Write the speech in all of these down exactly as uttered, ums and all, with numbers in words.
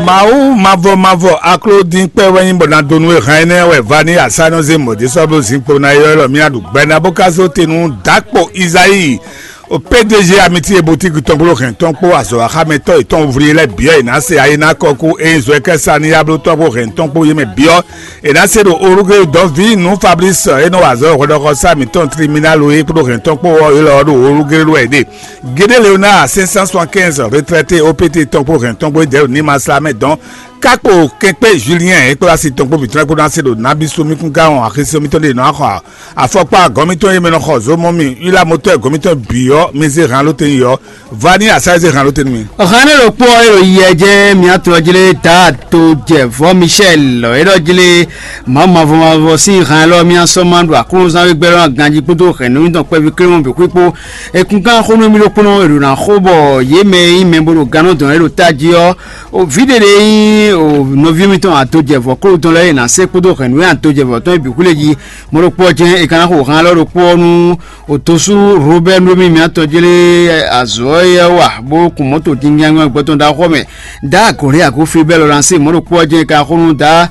Mawu mavɔ mavɔ akló dín kpɛ́ wɛ nyí bɔ ná dó nú e hɛn énɛ́ wɛ va ní asánɔzé mɔ̌dé sɔ́ bló zinkpo ná ylɔ́ mì aɖu gbɛ ná bó ka zó te nú dǎkpo Izayi. O P D G amiti e boutique tɔn kpó hɛn tɔn kpó azɔ̌ axámɛtɔ́ yětɔn vlí lɛ́ɛ byɔ́ è nǎ se ayi ná kɔkú e nyí zɔɛkɛ́sa ní yá bló tɔn kpó hɛn tɔn kpó yé mɛ byɔ́. È nǎ se ɖo orúgé dɔ̌ví nú Fablísi e nɔ wa azɔ̌ hwɛɖɔxɔsá mǐtɔn Tliminalo é kpódó hɛn tɔn kpó ɔ́, élɔ́ ɖo orúgé lɛ́ɛ ɖe. Gédé Leonard cinq cent soixante-quinze retraité O P T tɔn kpó hɛn tɔn kpó é dɛ̌ ɖo ní ma slá mɛ dɔn. Kákpo kɛnkpé Julien e kplá si tɔn kpó bǐ tɔn kpó ná se ɖo nabí sú mì kún ká wɔn axisí mítɔn ɖe nɔ xɔ afɔkpa gɔ́n mítɔn e mɛ nɔ xɔ zomɔ mì yla motɔ́ gɔ́n mítɔn bǐ ɔ́, mi zé han ló tɛn yi ɔ́, va ní asá e zé han ló tɛn nú mi. Hannɛ ɖokpó ɔ́ e ɖo yɛ jɛ́n mǐ atɔn ɔ́ jlé ta to jɛ vɔ̌ Michel e ɖɔ jlé Mawu mavɔ mavɔ sín han élɔ́ mì asɔ́ ma ɖo aklúnɔzán wégbɛ́ lɔ́ ganjí kpódó hɛ̌nnu tɔn kpɛví kléwɔn bǐ xwíkpó. È kún kán xó nú mì ɖokpónɔ è ɖo ná xó bɔ yě mɛ e nyí mɛ bó ɖo gannɔ́ dɔn é ɖo tají ɔ́, vǐ ɖé ɖé nyí nɔví mitɔn atojɛvɔ̌ kúɖu tɔn lɛ́ɛ e nǎ se kpódó hɛ̌nnu e atojɛvɔ̌ tɔn e bǐ xwlé jí. Mɔ̌ ɖokpó ɔ́ jɛ́n è ka ná xo han élɔ́ ɖokpó ɔ́ nú Otosu Robɛ́ɛ nú mì mǐtɔn jlé azɔ̌ e wa bó kun mɔ̌to jínjɛ́n gbɔtɔn ɖaxó mɛ. Dǎ agɔ̌ lɛ́ɛ agó Filibɛ́ɛ Lɔlase mɔ̌ ɖokpó ɔ́ jɛ́n è ka xó nú dǎ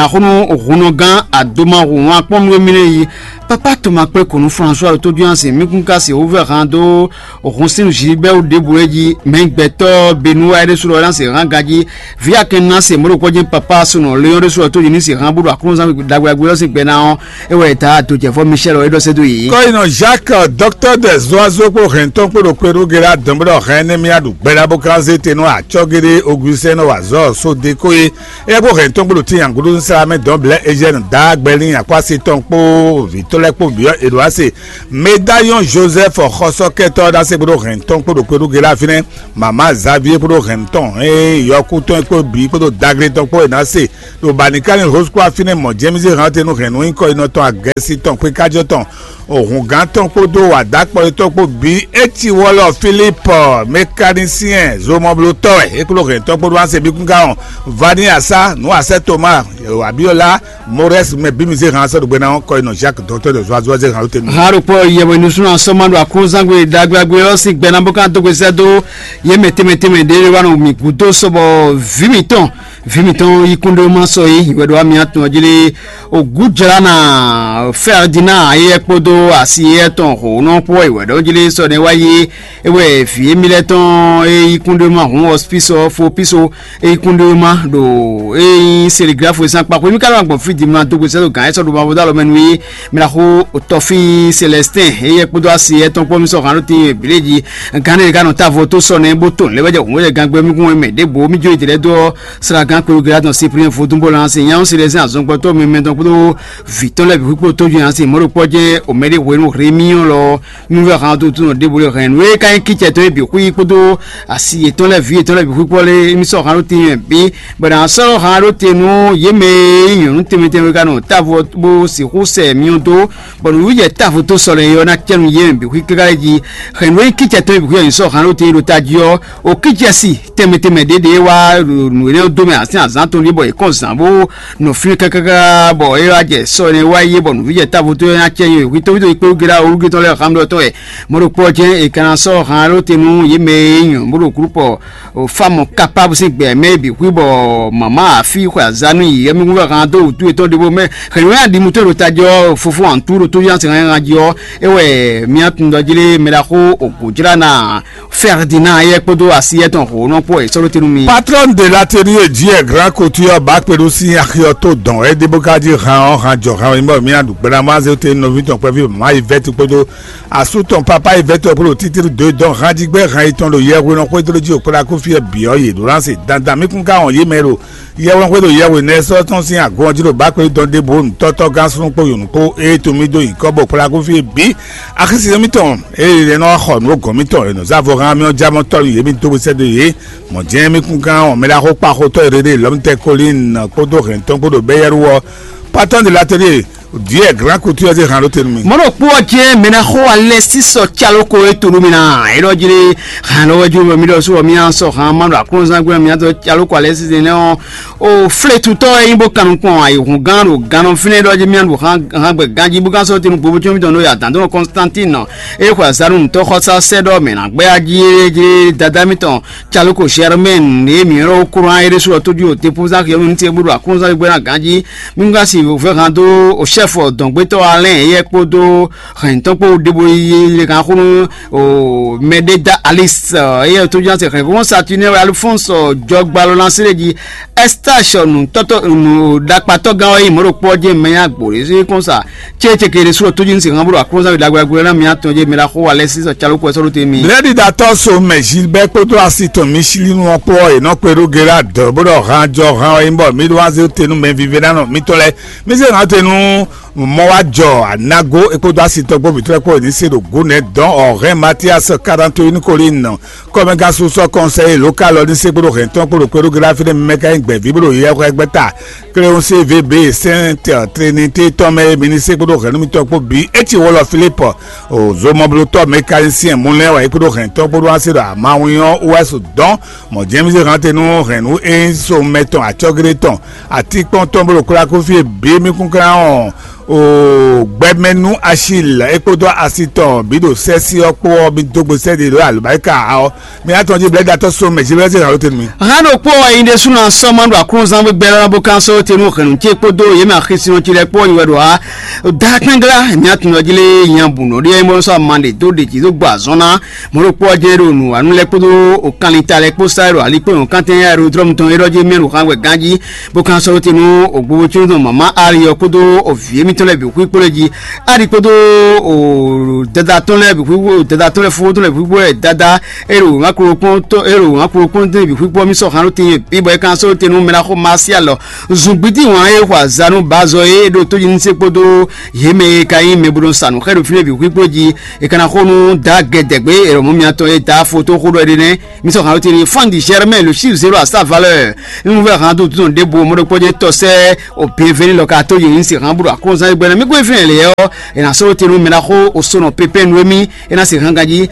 axɔ́nú hunnɔgán adomahun akpɔ́nú e mì lɛ́ɛ yi. Papa tɔn ma kplé kɔn nú François ɖo tójú ansi mí kún ka se wúvɛ́ han dó hun sín zǐgbɛ́wú ɖěbǔ é jí mɛ gbɛtɔ́ Benúwa é ɖésú lɔ ná se hán ganjí. Vǐ akɛn ná se mɔ̌ ɖokpó jɛ́n papa sunɔ Leon ɖésú lɔ tó yi ní se hán bó ɖo aklúnɔzán ɖagbe ɖagbe ɔ́ sín gbɛ ná ɔ́, é wɛ è ta dǒjɛvɔ́ Michel ɔ́ é ɖɔ sɛ́ dó yě. Kɔ́yinɔ Jacques, docteur des oiseaux kpó hɛntɔn kpó ɖo kpé ɖó Gela dɔn bó ɖɔ hɛn énɛ́ mì aɖu gbɛɖá bó kán zé te nú acɔ́géɖé Augustin nɔ wa azɔ̌ sódeko é. É kpó hɛntɔn kpó ɖo tín agúɖú sá mɛ dɔn blɛ́ Eugène dá gbɛlín akwásí tɔn kpó vǐtɔ́ lɛ́ɛ kpó byɔ́ Edwase. Médaillon Joseph xɔsɔ́kɛtɔ́ ɖásé kpó ɖo hɛntɔn kpó ɖo kpé ɖó Gela fínɛ́. Mama Xavier kpó ɖo hɛntɔn é yɔkú tɔn kpó bǐ kpódó daglé tɔn kpó è nǎ se ɖo Banikani Rose Croix fínɛ́ mɔ̌ jɛ́n mì zé hɛn ɔ́ te nú hɛ̌nnu nyíkɔ yi nɔ tɔn agɛsi tɔn xwé kájɔ tɔn. Hǔngán tɔn kpódó wǎdakpɔ́ tɔn kpó bǐ é ci wɔlɔ Philippe mécanicien zomɔblótɔ́ wɛ é kpló hɛn tɔn kpódó Ansebíkúngán ɔ́, Vaniasa, Nǔwasɛ́ Toma, Abiola, Morɛs mɛ bǐ mi zé hɛn asɔ́ ɖo gbɛ ná ɔ́, kɔ yi nɔ Jacques dɔktɔ́ de zɔazɔ́ zé hɛn ó te nú. Hán ɖokpó yɛwɛnusúnɔ sɔ́mánɖo aklúnzángbé ɖagbeɖagbe ɔ́ sín gbɛ ná bó ká dó gbe sɛ́ dó yě mɛ tɛnmɛ tɛnmɛ ɖě wá nɔ mì gǔdo sɔ bɔ vǐ mǐtɔn vǐ mǐtɔn yí kúnɖéwúma sɔ é wɛ ɖo wá mì atɔn jí lé. Ògújlánà Ferdinand ayé kpódó asi éyɛ́ tɔn hǒnɔ kpó wɛ ɖɔ jí lé sɔ nɛ́ wá yé é wɛ vǐ émí lɛ́ɛ tɔn e yí kúnɖéwúma hǔn ɔspísɔ fo píso e yí kúnɖéwúma ɖo e nyí seliglafo e sín akpa xwé mí ka nɔ gbɔn fí dimla dó gbe sɛ́ dó gǎn e sɔ́ ɖo mavɔ dó alɔ mɛ nú é. Mɛ ná xó tɔfí Celestin éyɛ́ kpódó asi éyɛ́ tɔn kpó mí sɔ́ hǎn ɖó tín e bǐ lé jí. Gǎn ɖé ká nɔ tá vo tó sɔ nɛ́ bó to lɛ́ wɛ jɛ hǔn wɛ jɛ gangbɛ́ mí kún mɛ ɖěbǔ mí jó yi dě lɛ́ dó ɔ́. Sragán kpéwúgbe atɔn Cyprien vodún bó lan sin nyáwó Celestin azɔngbɔtɔ́ mɛmɛtɔn kpódó vǐ tɔn lɛ́ɛ bǐ xwíkpó tójú yǎn sin mɔ̌ ɖokpɔ́ jɛ́n òmɛɖé hwenu Rémiɔ́n lɔ ɔ́. Nú vɛ́ hǎn dó túnɔ ɖěbǔ lé hɛn nǔ e ka nyí kícɛ tɔn e bǐ xwí kpódó asi yětɔn lɛ́ɛ vǐ yětɔn lɛ́ɛ bǐ xwí kpɔ́ lé émí sɔ́ hǎn ɖó tín bǐ bɔ è nǎ sɔ́ hǎn ɖó te nú yě mɛ e nyí nyɔ̌nu tɛnmɛ tɛnmɛ ka nɔ távo bó sixú sɛ myɔ dó bɔ nǔwíjɛ távo tó sɔlɛ é ɔ́ ná cɛ nú yě mɛ bǐ xwí káká lɛ́ɛ jí. Hɛn nǔ e nyí kícɛ tɔn e bǐ xwí ɔ́ nyí sɔ́ hǎn ɖó te ɖo tají ɔ́, o kícɛ si tɛnmɛ tɛnmɛ ɖě ɖě wá nǔ énɛ́ dó mɛ azán azán tɔn ɖíe bɔ è kɔn zǎn bó nɔ fínɛ́ kákáká bɔ é wá jɛ sɔ ɛnɛ wá yi bɔ nǔví jɛ távo tó nya cɛ nyi hwi tóví tó yi kpé wúgéɖá wúgé tɔn lɛ́ɛ xámɖɔ tɔn wɛ. Mɔ̌ ɖokpó ɔ́ jɛ́n è ka ná sɔ́ han ɖó te nú yě mɛ e nyí nyɔ̌nu bó ɖo glúpɔ fámɔ kápábu sín gbɛ mɛ bǐ xwí bɔ mǎmá àfí xwe azá nú yi yɛmíhún wɛ han dó wǔtu yětɔn ɖěvo mɛ hɛ̌nnu wɛ aɖimutɔ́ ɖo tají ɔ́ fofó antú ɖo tó yá sɛn han jí ɔ́ é wɛ mía tun ɖɔ jí lé mɛ ɖaxó ògǒjlá ná Ferdinand yɛ kpódó asi yɛ tɔn hǒnɔ kpó è sɔ́ ɖó te nú mi. Patron de l'atelier J R Grand Couture bá kpeɖu sín axi ɔ́ tó dɔn é dé bó ká jí han ɔ́ han jɔ han ɔ́ nyí bɔ mía ɖu gbɛɖamɔ azé te nɔví tɔn kpɛví mama yi vɛ́ti kpódó asú tɔn papa yi vɛ́ti ɔ́ kpódó títí dó dɔn han jí gbɛ́ han yi tɔn ɖo yɛhwe nɔ xwedó jí òkpóɖá kó fí ɛ bǐ ɔ́ yě ɖó lánse dandan mí kún ká wɔn yě mɛ ɖo yɛhwe nɔ xwedó yɛhwe nɛ sɔ́ tɔn sín agɔn ɔ́ jí ɖo bá kpeɖu dɔn ɖěbǔ nǔtɔ́tɔ́ gán súnnu kpó yǒnu kpó ée to mí dó nyǐkɔ bɔ òkpóɖá kó fí ɛ bǐ axísí mítɔn ée è nɔ xɔ nǔ gɔ̌n mítɔn è nɔ zá vɔ hán mì ɔ́ já mɔ tɔ́ nú yě mì dó we sɛ́ dó yě. Mɔ̌ jɛ́n mí kún gán ɔ́ mɛ ɖaxó kpaxotɔ́ e ɖeɖe lɔ̌mtɛ Kolín kpódó hɛ̌ntɔn kpó ɖo Bɛ́yɛ́ru ɔ́, Patɔ́n de l'atelier Diɛ gran kutu ɔ́ zé han ɖó te nú mi. Mɔɖo kpó ɔ́ jɛ́n mɛ ná xó alɛ sísɔ calóko e to nú mi ná. Elɔ jlé han lɔ wɛ jó mi ɖɔ sɔ mi sɔ han ma ɖo aklúnzán gbé mi tɔ calóko alɛ sísɛ nɛ ɔ́. O fletutɔ e nyí bó kan nukɔn ayi hun gán ɖo gannɔ fínɛ ɖɔ jí mi ɖo han gbɛ ganjí bó kan sɔ tenu gbogbo tso mi tɔn ɖo ya dan dɔn Constantine e xɔ azanu tɔ xɔsa sɛ ɖɔ mɛ na gbɛ ají e jlé dada mi tɔn calóko Germain e mi ɖɔ kúrò an e ɖésú ɔ́ tójú o te púzá xiyɔnu ní se bó ɖo aklúnzán gbé na ganjí. Mingasi vɛhan dó o chef dɔngbétɔ Alain eyɛ kpódó hɛn tɔn kpó ɖebo yi le kan xó nú o mɛɖeda Alice eyɛ tó ján se hɛn kó Saturnin wɛ Alphonse jɔgbalɔ na séré ji Estache nu tɔtɔ nu ɖakpatɔ gán wɛ yi mɔɖo kpɔ jɛ mɛ ya gbó ɖe sí kɔn sa tse tse ke ɖe sú tójú ní se hàn bó ɖo akɔnsa ɖagbe ɖagbe na mi atɔn jɛ mɛ la xó wa lɛ sí sɔ calo kɔ sɔɖo te mi. Lɛɖiɖatɔ so mɛ Gilbert kpódó asi tɔn mi sílí nu ɔkpɔ ɔ́, è nɔ kpe ɖó Gerard bó ɖɔ hàn jɔ hàn ɔ́ nyí bɔ mi ɖó wá zé te nú mɛ vive ná nɔ mitɔn lɛ mi zé hàn te nú mɔ wá jɔ anago é kpódó asi tɔn gbó vǐtrɔ́ kpó è ní se ɖo gǔ nɛ́ dɔn ɔ̀hɛn Mathias Karantoin Colin kɔmɛgasusɔ kɔnsɛyi lokal ɔ́ ní se kpódó hɛn tɔn kpódó kpéɖó Gérard fínɛ́ mi mɛ ka nyí gbɛ̌ví bó ɖo yɛhwɛ gbɛ́ta Cléonce V B Sainte Trinité tɔn mɛ e mi ní se kpódó hɛ̌nnu mitɔn kpó bǐ é ci wɔlɔ Philippe o zomɔblótɔ́ mécanicien Moulin wɛ é kpódó hɛn tɔn kpódó wá se ɖo amawin ɔ́ wú wɛ so dɔn mɔ̌ jɛ́n mi se hɛn te nú hɛ̌nnu e nyí so mɛ tɔn acɔ́géɖé tɔn atínkpɔ́n tɔn bó ɖo kplákúfí e bǐ mi kún klán ɔn o gbɛmɛnú Achille é kpódó asi tɔn bǐ ɖo sɛ́sí ɔ́ kpó ɔ́ mi dó gbe sɛ́ ɖě ɖo alǒbáríkà ɔ́ mi ná tɔn jí blɛ́datɔ́ so mɛ jí blɛ́ zé hǎn ló tenu mi. Hán ɖokpó wɛ nyi ɖésú ná sɔ́ ma ɖo aklúnzán gbígbɛ́ lɔ́ bó kán sɔ́ tenu hɛ̌nnu ce kpódó yě mɛ axisínɔ ce lɛ́ɛ kpó nyi wɛ ɖo ǎ. Daa kpɛ́nglá mǐ atúnɔ jí lé nya bǔ nɔ ɖíe mɔ sɔ́ ama ɖě dó ɖě jí dó gbɔ azɔn ná. Mɔ̌ ɖokpó ɔ́ jɛ́n ɖo nǔwanú lɛ́ɛ kpódó o kanlin ta lɛ́ɛ kpó sá ɖo ali kpó nyɔ̌kantín aerodrɔ́mu tɔn e ɖɔ jí mɛ ɖo xán wɛ ganjí. Bó ka sɔ́ te nú ògbóbócúnú tɔn mama Ali ɔ́ kpódó vǐ émítɔn lɛ́ɛ bǐ xwíxwó lɛ́ɛ jí. Ali kpódó dada tɔn lɛ́ɛ bǐ xwíxwó dada tɔn lɛ́ɛ fúnfún tɔn lɛ́ɛ bǐ xwíxwó wɛ dada é ɖo wǎn kplɔ́nkpɔ́n tɔn é ɖo wǎn kplɔ́nkpɔ́n tɔn bǐ xwíxwó mì sɔ́ han ɖó tin bíbɔ é ka sɔ́ te nú mɛ ná xó Masialɔ zungbídí wǎn e xɔ azǎn nú Bazɔ e ɖo tójínúsé kpódó yě mɛ e ka nyí mɛ bo nɔ sa nǔ xɛ ɖo fínɛ́ bǐ xwíxwó jí. È ka ná xo nú da gɛdɛgbé è lɔ mɔ̌ mitɔn e da afo tó xó ɖɔ é ɖe nɛ́. Mi sɔ hàn ó tiri fɔ́n di Germain le chiffre zéro à sa valeur. Nínú vɛ́ hàn dó dúnú ɖěbǔ mɔɖokpɔ́jɛ́tɔ́ sɛ́ òběvɛ́ ní lɔ ka tó yě ní se hàn bó ɖo akɔ́nzán gbɛ́ ná mí kó fínɛ́ lě ɔ́ è nǎ sɔ́ ó tiri nú mɛ ná xó o sónɔ pépé nú émí é ná se hàn ganjí.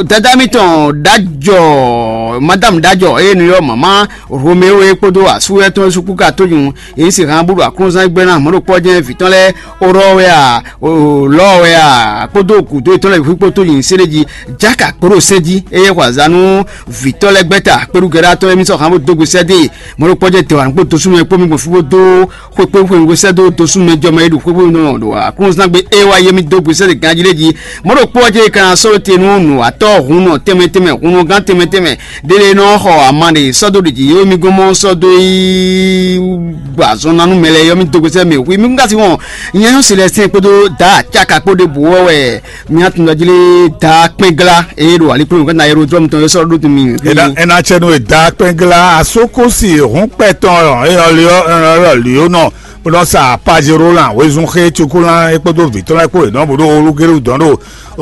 Dada mitɔn ɖájɔ madame ɖájɔ eye nu yɔ mama Romeo e kpódó asú etɔn sukú ka tó nyú yě ní se hàn bó ɖo akɔ́nzán gbɛ́ ná mɔɖokpɔ́jɛ́ vǐ tɔn lɛ́ɛ orɔ wɛ a lɔ wɛ a kpódó gǔdo yětɔn lɛ́ɛ bǐ kpó tó nyi sɛ́ɖéji jáka kpóɖó sɛ́ jí eye xɔ azǎn nú vǐtɔ́ lɛ́ɛ gbɛ́ta kpéɖúgɛ́ɖátɔ́ émí sɔ́ hǎn bó dó gbe sɛ́ dé mɔ̌ ɖokpɔ́ jɛ tɛwǎn kpó dosúnɔ kpó mi gbɔn fí bó dó xwé kpé xwé nǔgbó sɛ́ dó dosúnɔ jɔmɔ e ɖo xwé xwé nɔ ɖo aklúnzán gbe é wá yé mì dó gbe sɛ́ dé ganjí lé jí mɔ̌ ɖokpɔ́ jɛ kan sɔ́ te nú nǔwatɔ́ hun nɔ tɛnmɛ tɛnmɛ hun nɔ gán tɛnmɛ tɛnmɛ ɖélé nɔ xɔ ama ɖe sɔ́ dó ɖě jí é mì gɔ́n mɔ sɔ́ dó yi gbɔ azɔn ná nú mɛ lɛ́ɛ yɔ mì dó gbe sɛ́ mɛ xwé mi gúngásí wɔn nyɛ nyɔ́ Selɛstin kpódó da acáka kpó ɖěbǔ ɔ́ wɛ mi atundɔjlé da kpɛngla eye ɖo alikpɔ́n ka na aérodrɔm tɔn e sɔ́ ɖó mi. Ena ena tsɛ nu e da kpɛngla asokosi hun kpɛtɔn eyɔliɔ eyɔliɔ nɔ bó nɔ sa pajero lan wezun xe tsukulan e kpódó vǐtɔn lɛ́ɛ kpó e nɔ bó ɖó olugélu dɔn ɖo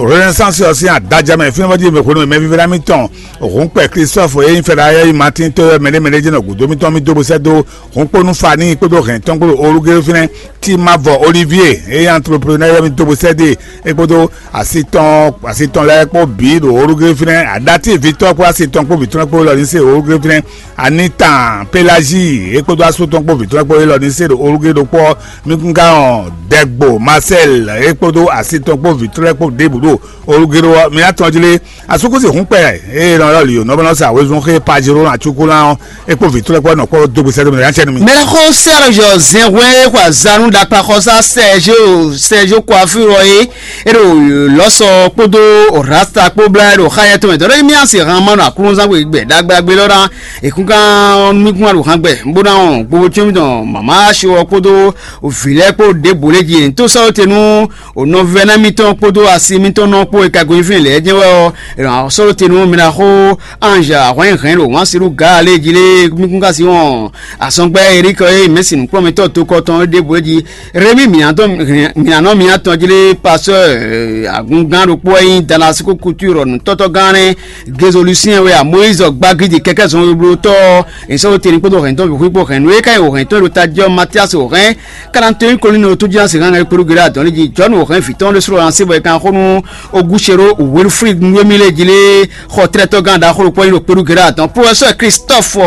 renaissance ɔ́ sín adajamɛ fínfɔ́n jí mɛ hwenu mɛ vívɛ́ná mitɔn hun kpɛ Christophe e nyí fɛɖayɔ́ yi Martin tɔ́ mɛɖé mɛɖé jɛ́n ɖɔ gǔdo mitɔn mi dó bó sɛ́ dó hun kpó nú Fani kpódó hɛn tɔn kpódó olugélu fínɛ́ Timavɔ Olivier e nyí entrepreneur yɔ́ mi dó bó sɛ́ dó e kpódó asi tɔn asi tɔn lɛ́ɛ kpó bǐ ɖo olugélu fínɛ́ aɖatívi tɔn kpó asi tɔn kpó vǐ tɔn kpó lɔ ní se olugélu fínɛ́ Anita Pelagie e kpódó asú tɔn kpó vǐ tɔn kpó élɔ́ ní se ɖo olugélu ɖokpó ɔ́ mi kún ka hɔn Dɛgbo Marcel e kpódó asi tɔn kpó vǐ tɔn kpó ɖěbǔ ɖo olugélu ɔ́ mi atɔn jí lé asúkúsi hun kpɛ eye nɔ lɔ lǐ nɔ bɔ nɔ sa wezun xe pajero nɔ atsukulán ɔ́ e kpó vǐ tɔn kpó nɔ kpó dó gbèsè dó mi yá cɛ nú mi. Mɛlɛxɔ Serge Zɛnhwɛ e xɔ azanu ɖakpaxɔsá Serge Serge Coiffure ɔ́ é ɖo lɔsɔ kpódó rasta kpó blá ɖo xayɛ tɔn mɛ dɔɖɔ mi asi han ma nɔ aklúnzán gbe gbɛ ɖagbe ɖagbe lɔ ná ekúngán mi kún aɖo han gbɛ bó ná wɔn gbogbo tsyɔn mi tɔn mama asi wɔ kpódó vǐ lɛ́ɛ kpó ɖěbǔ lɛ́ɛ jí ntó sɔ́ te nú O nɔvɛ́ná mitɔn kpódó asi mitɔn nɔ kpó e ka gɔ́ nyi fínɛ́ lɛ́ɛ jɛ́n wɛ ɔ́, è nɔ sɔ́ te nú mi ná xó Ange ahwɛ́nhɛn ɖo wǎn si nú Gaa lé jí lé mi kún ka si wɔn azɔngbɛ́ Erik e mɛ̌si nǔkplɔ́nmɛtɔ́ tokɔ tɔn é ɖěbǔ é jí Rémi mǐnánɔ mǐnátɔn jí lé pasɔ́ agungán ɖokpó wɛ nyí Damasiko Couture nǔtɔ́tɔ́gán nɛ́ Gezolusiyɛn wɛ a Moyízi gbagidi kɛkɛ́ zɔnweblótɔ́ ɔ́, è sɔ́ te ní kpódó hɛ̌ntɔn bǐ xwí kpó hɛ̌nnu e ka nyí wǒhɛ̌ntɔn e ɖo tají ɔ́ Matíasi wǒhɛ́n Kalantoyin kolín ɔ́ tó jí ná se Gán kpéɖu gɛɖɛ atɔn lé jí Jɔnu hɛn vǐ tɔn ɖé srɔ́ ansi bɔ è kan xó nú Ogúsero Wilfrid Nwémilé jí lé xɔ tlɛ́tɔ́gán ɖaxó ɖokpó nyí ɖo kpéɖu gɛɖɛ atɔn. Professeur Christophe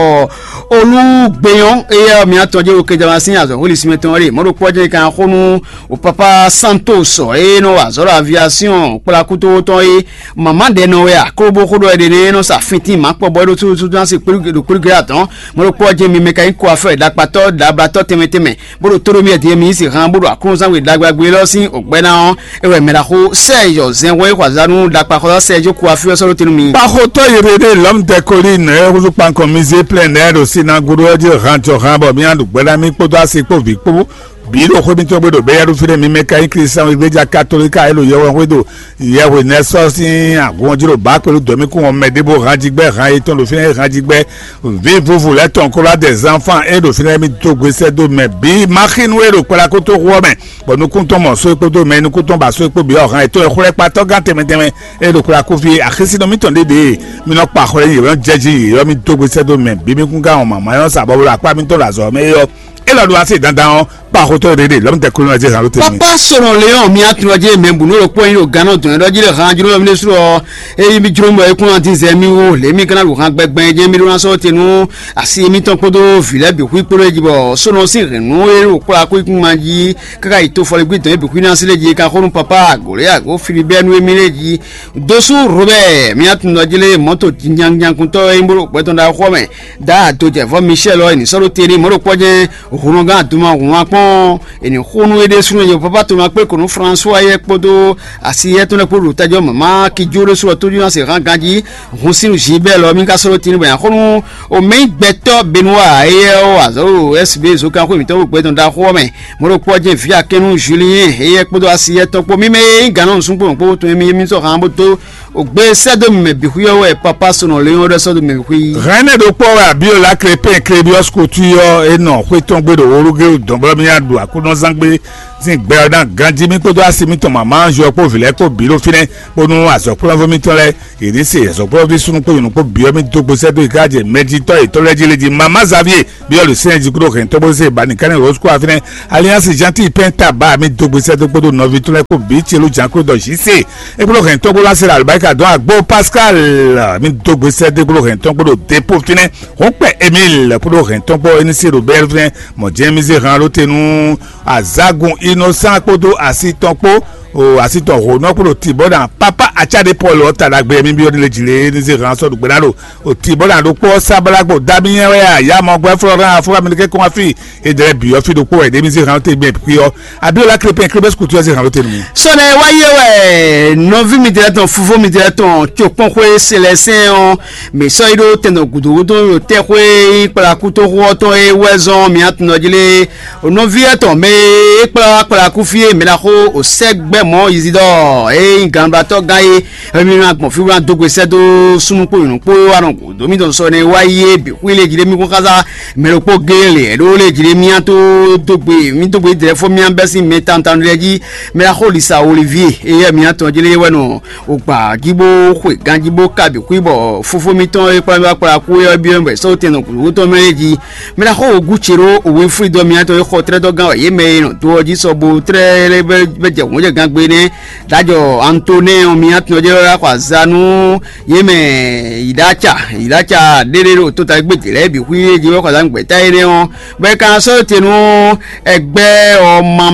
Olugbeyan, éyɛ́ mǐ atɔn jɛ wo kɛjama sín azɔ̌ hweli sinmɛ tɔn ɖe mɔ̌ ɖokpó jɛ kan xó nú o papa Santos e nɔ wa azɔ̌ ɖo aviation kplá kútówó tɔn é. Mama ɖɛ nɔ wɛ a kó bó xó ɖɔ ɛɖɛ nɛ nɔ sa fintín mǎ kpɔ bɔ é ɖo súsúsú ná se kpéɖu ɖo kpéɖu gɛɖɛ atɔn. Mɔ̌ ɖokpó jɛ mi mɛ ka nyí ko afɛ ɖakpatɔ́ ɖablatɔ́ tɛnmɛ tɛnmɛ bó ɖo tóɖó mì ɛdí mi yí si han bó ɖo aklúnɔzán we ɖagbagbé lɔ sín ògbɛ́ ná ɔ́, é wɛ mɛ ɖaxó Sɛ́ɛzɔ zɛnhɔn e xɔ azǎn nú ɖakpaxɔsá Sɛ́ɛzɔ kú afí ɔ́ sɔ́ ɖó te nú mi. Kpaxotɔ́ Yebede lɔ̌m dɛkoli nɛ̌ húzú kpankɔn mizé plɛ́n nɛ̌ ɖo sinagodo ɔ́ jí han jɔ han bɔ mía ɖu gbɛ́ ná mì kpódó asi kpó vǐ kpó bǐ ɖo xwé mitɔn gbe ɖo bɛ́yɛ́ɖúfínɛ́ mi mɛ ka nyí Klísáwégbéja katolíka e ɖo yɛhwehundo yɛhwe nɛ́ sɔ́ sín agun ɔ́ jí ɖo bǎ kpelu dɔ̌ mì kún ɔ́ mɛ ɖěbǔ han jí gbɛ́ han yětɔn ɖo fínɛ́ han jí gbɛ́ vǐ vuvu lɛ́ tɔn kó lá dɛ zánfán e ɖo fínɛ́ mì dó gbe sɛ́ dó mɛ bǐ Maxinu e ɖo kpɛɖakótóxu ɔ́ mɛ, bɔ nukún tɔn mɔ só e kpódó mɛ e nukún tɔn ba só e kpó bǐ ɔ́ hán yětɔn e xwlɛ́kpatɔ́ gán tɛnmɛ tɛnmɛ e ɖo kpɛɖakófí e axésínɔ mǐtɔn ɖéɖée. Mi nɔ kpa xwlɛ nyi yě nɔ jɛ jí yě ɔ́, mì dó gbe sɛ́ dó mɛ bǐ mì kún gán wɔn mǎmá nyɔ́ sa bɔ bo ɖo akpá mitɔn ɖo azɔ̌ mɛ é ɔ́, é lɔ ɖo asi dandan ɔ́, kpa xotɔ́ ɖéɖée lɔ̌mtɛ kúnlɔ́ jɛ zǎn ló tɛnmɛ. Papa sɔnɔ Leon mi atunɔ jɛ mɛ bu n'o ɖo kpɔ́n yi ɖo gannɔ dɔn ɖɔ jí ɖe han jló mi ɖésú ɔ. Eyi mi jló mɔ ekún ati zɛ mi wo lě mi kana ɖo han gbɛgbɛ jɛ mi ɖó ná sɔ́ te nú asi mitɔn kpódó vǐ lɛ́ɛ bǐ xwí kpódó eji bɔ sɔnɔ sín hɛ̌nnu e ɖo kplá kú ikún ma jí káká yi to fɔligbí dɔn ebǐ xwí ná sí lé jí ka xó nú papa agǒlé agó Filibɛ́nu e mi lé jí. Dosú Robɛ́ɛ mi atunɔ jí lé mɔ̌to nyanyánkúntɔ́ e nyí bó ɖo gbɛtɔ́ ɖaxó mɛ dá adojɛvɔ́ Michel ɔ́, è nǐ sɔ́ ɖó te n'i mɔ̌ ɖokpɔ́ jɛ́n. Hǔnɔgán Aduma hǔn akpɔ́n è nǐ xo nú éɖée súnnu e Papa Toma kpé kɔn nú François yɛ́ kpódó asi yɛ́ tɔn lɛ́ɛ kpó ɖo tají ɔ́ mama Kijó ɖésú ɔ́ tójú ná se hán ganjí. Hun sín Gilbert lɔ mì ka sɔ́ ɖó tínú bɔ è nǎ xo nú omɛ̌ gbɛtɔ́ Benoit éyɛ́ ɔ́ azɔ̌ ɖo S B zokánxwé mǐtɔn ɖo gbɛtɔ́ ɖaxó ɔ́ mɛ. Mɔ̌ ɖokpɔ́ jɛ́n vǐ akɛ́nú Julien éyɛ́ kpódó asi yɛ́ tɔn kpó mímɛ́ e nyí gǎn nɔ nǔsúnkplɔ́n kpó tɔn e mì yé mì sɔ́ hán bó dó. Ògbé sɛ́ dó mì mɛ bǐ xwí ɔ́ wɛ Papa Sɔnɔ Léon ɖɔ sɔ́ dó mɛ bǐ xwí. Hɛn énɛ́ ɖokpó wɛ Abíɔlá Krépin Klébiɔ́s Kotúi ɔ́, é nɔ xwé tɔn gbe ɖo Olúgéwu dɔ̌nblɔ́míá ɖu Aklúnɔzán gbe sín gbɛ ɔ́ ná ganjí mì kpódó asi mitɔn mama Anzu ɔ́ kpó vǐ lɛ́ɛ kpó bǐ ɖo fínɛ́, bónú azɔ̌kplɔ́nvú mitɔn lɛ́ɛ yě ní se azɔ̌kplɔ́nví súnnu kpó nyɔ̌nu kpó bǐ ɔ́ mì dó gbe sɛ́ dó yi kájɛ mɛjitɔ́ yětɔn lɛ́ɛ jí lé jí. Mama Xavier Bíɔ́lù sɛ́n jí kúɖó hɛn tɔ́gbó se ba nìkan ní Rose kó afínɛ́ Alliance Gentille pɛn taba mi dó gbe sɛ́ dó kpódó nɔví tɔn lɛ́ɛ kpó bǐ celú jǎn kúɖó dɔ J C. E kúɖó hɛn tɔ́gbó lá se la àlùbáríkà dɔn àgbo Pascal mi dó gbe sɛ́ dó kúɖó hɛn tɔ́gbó ɖo dépó fínɛ́. Hɔn kpɛ Emile kúɖó hɛn tɔ́gbó éní se ɖo bɛ́ fínɛ́ mɔ̌ jɛ́n mi zé han ló te nú azágun Innocent kpódó asi tɔn kpó o asi tɔn hǒnɔ kúɖó tibɔ́ ná pápá acáɖé Paul ɔ́ ta ɖagbe mi byɔ́ ní lé jǐ lé éní zé han sɔ́ ɖo gbe ná ɖo Òtí bó ná ɖokpó ɔ́ sá bó ná gbo dá mì nyɛ wɛ a? Yá mɔ gbɛ́ Florent afúnra mi kɛ́ kɔn afí. E dlɛ́ bǐ ɔ́ fí ɖokpó wɛ ɖě mi zé hàn tɛ́ gbɛn kpí ɔ́. Abíọ́lá Krépin Krébes Couture zé hàn ló tɛnu mi. Sɔnɛ wá yé wɛ nɔví mi tɛ tɔn fúfú mi tɛ tɔn tso kpɔn xwé Sélɛsɛn ɔ́, mǐ sɔ́ yi ɖó tɛnɔ gǔdo wútu ɖo tɛ́ xwé yi kplá kútóxó ɔ́ tɔn e wɛ zɔn mǐ atúnɔ jí lé. Nɔví etɔn mɛ e kplá kplá kú fí e mǐ ná xó o sɛ́ gbɛ́ mɔ̌ Izidɔ́ɔ e nyí gannúɖatɔ́ gán é. Emi ma gbɔn fí wá dó gbe sɛ́ dó súnnu kpó nyɔ̌nu kpó wá nɔ gǔdo mì tɔn sɔ nɛ wá yi é bǐ xwí lé jí ɖé mì kún xá sá mɛ ɖokpó géé lě ɖó lé jí ɖé mì tó dó gbe mì dó gbe dlɛ́ fó mì bɛ́ sín mɛ tantan lɛ́ɛ jí. Mɛ axó lisa Olivier éyɛ́ mì tɔn jí lé wɛ nɔ ògbà jí bó xwe ganjí bó ka bǐ xwí bɔ fófó mì tɔn e kplá mì wá kplá kú é ɔ́ byɔ́ mì bɔ è sɔ́ tɛn nɔ gǔdo tɔn mɛ é jí. Mɛ axó ògú ce ɖó òwe fúnidɔ mì tɔn e xɔ tlɛ́dɔ́ gán wɛ yě mɛ e nɔ do ɔ́ jí sɔ bo tlɛ́ lé bɛ jɛ hǔn jɛ gán gbe nɛ́. Dajɔ Antonɛ́ ɔ́, mi atɔn jɛ wɛ xɔ azǎn nú yě mɛ Yiɖaca, Yiɖaca ɖéɖé ɖo tota gbé dě lɛ́ɛ bǐ xwí é jɛ wɛ xɔ azǎn gbɛ̌ta énɛ́ ɔ́, bɔ é ka ná sɔ́ te nú ɛgbɛ́ ɔma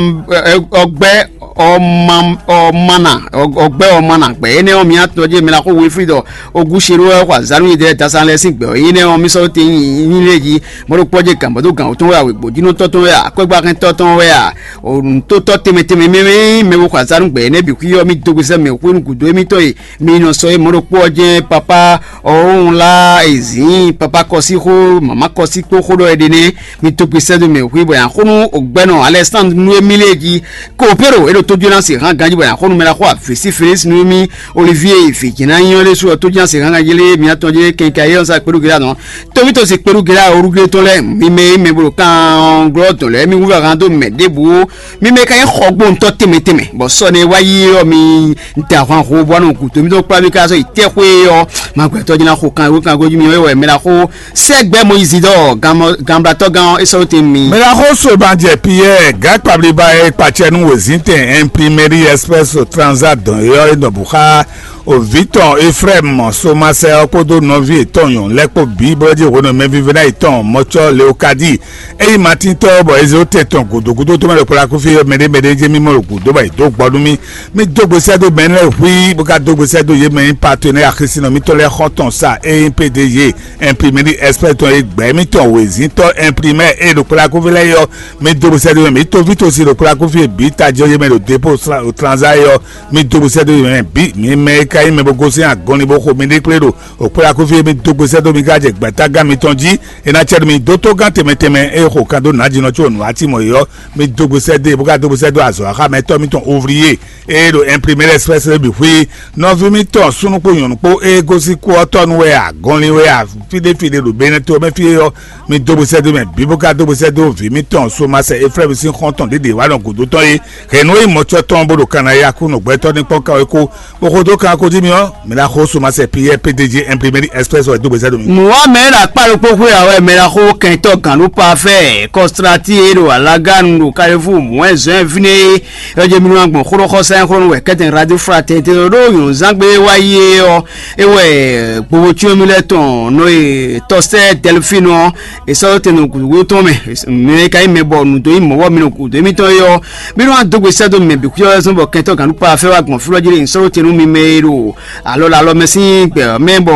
ɔgbɛ́ ɔma ɔmana ɔgbɛ́ ɔmana gbɛ énɛ́ ɔ́, mi atɔn jɛ mɛ ná xó we fí ɖɔ Ogúṣerú wɛ xɔ azǎn nú yědɛɛ dasán lɛ́ɛ sín gbɛ ɔ́, énɛ́ ɔ́, mi sɔ́ te nyí lé jí mɔ̌ ɖokpó jɛ gǎn bɔ dó gǎn wǒtɔn wɛ a, wěgbójínɔtɔ́ tɔn wɛ a, akwɛ́gbáxɛntɔ́ tɔn wɛ a, nǔtótɔ́ tɛnmɛ tɛnmɛ mɛ mɛ mɛ xɔ azǎn nú gbɛ énɛ́ bǐ xwí ɔ́, mi dó gbe sɛ́ mɛ xwé nú gǔdo émítɔn e mi nɔ sɔ é mɔ̌ ɖokpó ɔ́ jɛ́n papá ɔ́ wá ezǐin papá kɔsí xó mama kɔsí kpó xó ɖɔ é ɖe nɛ́. Mi tó gbe sɛ́ dó mɛ xwé bɔ yǎ xó nú ògbɛ́nɔ Alɛsándru nú émí lée jí. Kopéro é ɖo tójúná se hán ganjí bɔ è nǎ xo nú mɛ ɖaxó Avesi Felísi nú mì Olivíe vǐjɛ́nányí ɔ́ ɖésú ɔ́, tójúná se hán ganjí lé mǐtɔn jí kɛnkayi ɔ́ sá kpeɖú gěɖá nɔ. Tómítɔn se kpeɖú gěɖá orúglé tɔn lɛ́ɛ, mi mɛ e mɛ bo ɖo kan glɔ́ dɔn lɛ́ɛ, mi wú vɛ hán dó mɛ ɖěbǔ. Mi mɛ ka nyí xɔgbóntɔ́ tɛnmɛ tɛnmɛ, bɔ sɔ́ nɛ́ wá yi ɔ́, mi da ahwan ho bɔ nɔ gǔdo mítɔn kplá mi ká sɔ́ yi tɛ́xwé ɔ́, ma gbɛtɔ́ jí ná xo kan wé kan gojú mi ɔ́, é wɛ mɛ ná xo sɛ́gbɛ́ Mɔyízi ɖɔ ganblatɔ́ gán ɔ́ é sɔ́ dó te mi. Mɛ ná xo so ma jɛ Piyɛ́ɛ gǎ kpablíba e kpacɛ nú wězíntɛn Imprimeri Express Transat dɔn é ɔ́ é nɔ bǔ xá o vǐ tɔn Efrɛ́mu Somasɛ ɔ́ kpódó nɔví yětɔn nyɔ̌nu lɛ́ɛ kpó bǐ, bó jí hwenu e mɛvívɛ́ná yětɔn mɔcɔ́ Leokadi é nyí Matíntɔ́, bɔ Ezilotɛn tɔn gǔdo gúdo tɔn mɛ ɖo kplá kúfí mɛɖé mɛɖé jɛ́n mì mɔ ɖo gǔdo bɔ è dǒ gbɔ nú mì. Mì dó gbe sɛ́ dó mɛ lɛ́ɛ hlí, bó ka dó gbe sɛ́ dó yě mɛ nyí patenɛ́ axisínɔ mítɔn lɛ́ɛ xɔ́ntɔn sa e nyí P D G Imprimeri Express tɔn e gbɛ̌ mítɔn wězíntɔ́ imprimɛ́ e ɖo kplá kúfí lɛ́ɛ é ɔ́, mì dó gbe sɛ́ dó mɛ. Mǐ tóví tosi ɖo kplá kúfí e bǐ tají ɔ́ yě mɛ ɖo dépôt transa é ɔ́, mì dó gbe sɛ́ dó yě mɛ bǐ. Mi mɛ e ka nyí mɛ bó gosín agɔnlin bó xo miɖée kplé ɖo òkplá kúfí e mì dó gbe sɛ́ dó mi ka jɛ gbɛ̌tágán mitɔn jí. È nǎ cɛ nú mi dó tógán tɛnmɛ tɛnmɛ e xo kan dó nǎjínɔ có nǔ ǎ timɔ é ɔ́, mi dó gbe sɛ́ dó e bó ka dó gbe sɛ́ dó azɔ̌ axámɛtɔ́ mitɔn Ovliye e ɖo Imprimé Express lɛ́ɛ bǐ xwí. Nɔví mitɔn súnnu kpó nyɔ̌nu kpó e gosín kú ɔ́ tɔ́ nu wɛ a, gɔnlin wɛ a, fíɖéfíɖé ɖo Benɛto ɔ́ mɛ fí é ɔ́, mi dó gbe sɛ́ dó mɛ bǐ bó ka dó gbe sɛ́ dó vǐ mitɔn Somasɛ Eflɛ́mu sín xɔ́ntɔn ɖě ɖě wá nɔ gǔdo tɔn é. Hɛ̌nnu e nyí mɔcɔ́ tɔn bó ɖo kanna é Aklúnɔ gbɛtɔ́ ní kpɔ́n ká wɛ kó, bó xo dó kan ko jí mi ɔ́, mi ná xo Somasɛ Piyɛ́ɛ P D G Imprimé Express wɛ dó gbe sɛ́ dó mi. Mɔ̌ wá mɛ e ɖo akpá ɖokpó xwé ǎ wɛ mɛ ná xó kɛntɔ́ gǎn ɖó pafɛ́ kɔslatí e ɖo alágánu ɖo Kalifú mɔ̌ɛzɔ́n ɛ fínɛ́ é. Yɔjɛmínú agbɔn xóɖóxɔsá e xlɔ́ nú wɛ kɛ́tɛn Radio Fraternité ɖó nyɔ̌nuzángbe e wá yi é ɔ́, é wɛ gbowó cyɔ́nmí lɛ́ɛ tɔn nɔ e tɔsɛ́ Dɛlfínu ɔ́, è sɔ́ dó te nɔ gǔdo tɔn mɛ. Mɛ e ka nyí mɛ bɔ nǔ dó nyí mɔ̌ bɔ mi nɔ gǔdo émítɔn é ɔ́, mí nɔ wá dó gbe sɛ́ dó mi mɛ bǐ xwíyɔ́ wɛ zɔ́n bɔ kɛntɔ́ gǎn ɖó pafɛ́ wá gbɔn fí lɔ jí ɖe nyǐsɔ́ tɛn nú mi mɛ e ɖo alɔ lɛ alɔ mɛ sín gbɛ ɔ́ mɛ, bɔ